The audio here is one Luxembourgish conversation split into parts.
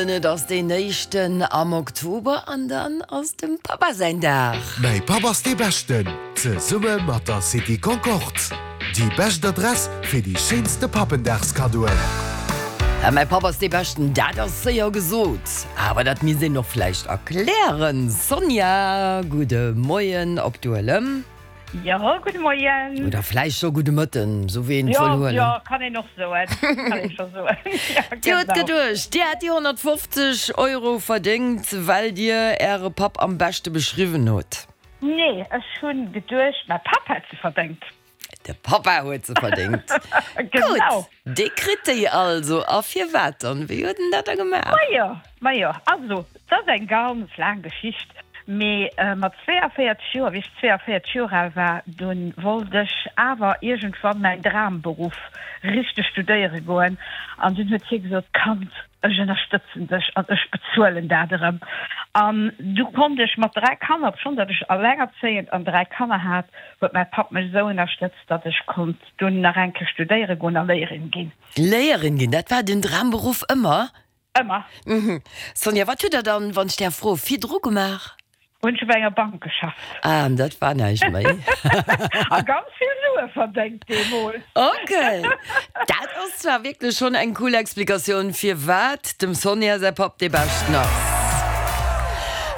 Et ass deen éischten am Oktober an dann ass dem Pappa säin Dag. Mäi Papp ass dee Beschten, zesumme mat der City Concorde. Déi bescht Adress fir déi schéinste Pappendagskaddoen. Mäi Papp ass dee Beschten, dat ass séier gesot, awer dat misst een och vläicht erklären. Sonja, gudde Moien op Duelem. Jo, gudde Moien. Oder vläicht scho gudde Mëtten, sou wéi een et wëll huelen. Jo, jo, kann een och soen. Kann een scho soen. Jo, genau. Dir hutt geduecht, Dir hätt déi 150 Euro verdéngt, well Dir Äre Papp am beschte beschriwwen hutt? Nee, ech hu geduecht, mäi Papp hätt se verdéngt. De Pappa huet se verdéngt. Genau. Gutt, dee kritt déi also. A firwat dann? Wéi huet en dat da gemaach? Majo, majo, also, et ass eng ganz laang Geschicht. Mee mat 42 Joer, wéi ech 42 Joer al war, dunn wollt ech awer iergendwann mäin Dramberuff richteg studéiere goen. An dunn huet hie gesot, Kand, ech ënnerstëtzen dech an ech bezuelen dat erëm. An du konnt ech mat 3 Kanner, obschonn datt ech allengerzéiend an 3 Kanner hat, huet mäi Papp mech esou ënnerstëtzt, datt ech konnt dunn nach eng Kéier studéiere goen a Léierin ginn. Léierin ginn, dat war den Dramberuff ëmmer? Ëmmer. Sonja, wat hutt der dann, wann ech däerf froen, virdru gemaach? Hunn ech op enger Bank geschafft. Ah, an dat war näischt méi. A ganz vill Sue verdéngt deemools. Ok. Dat ass zwar wierklech schonn eng cool Explikatioun, firwat dem Sonja säi Papp dee Beschten ass.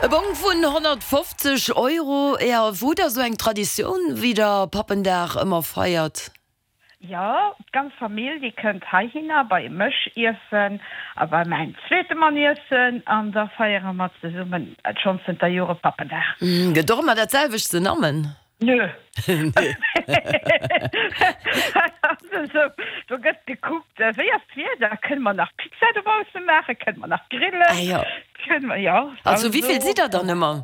E Bong vun 150 Euro. Jo, hutt der esou eng Traditioun, wéi der Pappendag ëmmer feiert? Jo, d'ganz Famill, déi kënnt heihinner bei mech iessen a bei mäin zweete Mann iessen an da feiere mer zesummen schonn zënter Jore Pappendag. Gëtt och ëmmer dat selwecht ze nammen? Nö. Also, do gëtt gekuckt, wéi ass d'Wieder, kënne mer nach Pizza dobausse maachen, kënne mer nach grillen, Ah jo. kënne mer, jo. Also, wéi vill sidd der dann ëmmer?